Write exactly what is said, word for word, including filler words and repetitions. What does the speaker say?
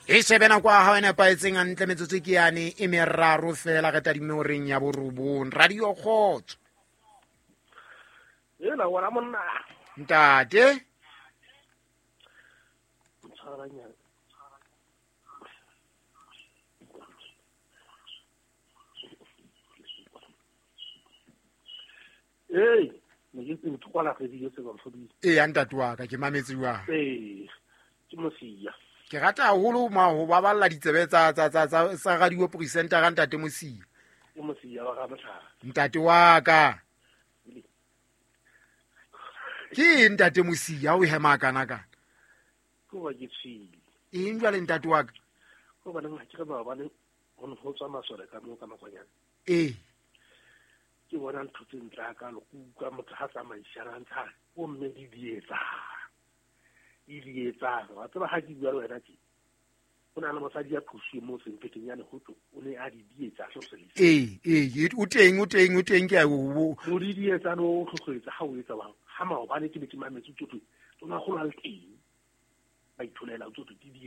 E shebe nako ya hao e nepahetseng hantle, metsotso ke yane e meraro fela re tadime horeng ya borobong. Radio Kgotso. Ela wena monna. Ntate. Mtshwaranyana. Hey, ne ke ntse kwala radio se ba mfodile. Ee, ntate wa ka ke mametse jwang. Ee, ke Mosia. Ke rata haholo ma ho baballa ditsebe tsa tsa tsa tsa sa radio presenter ka ntate Mosia. Ke Mosia wa ga Motlhaba. Ntate wa ka. Ke ntate Mosia o hema kana kana. Ke wa ke tshile. Eng jwale ntate wa ka? Go ba nna ke re ba bane go ne go tswa masole ka mo ka makwanyana. Ee. Ke bona ntho tse ntle ka lo utlwa motho ha tsamaisana ntsha o mme di dietsa. Di dietsa. Wa tseba ha ke bua le wena tje. O na le mosadi ya phusi mo sempeteng ya lehoto o ne a di dietsa so se. Ee, ee, o teng o teng o teng ke a o. O di dietsa no tlhotlhoetsa ha o etsa bang. Ha maobane ke be ke mametse tsotso. Tsona go la le teng. Ba itholela tsotso di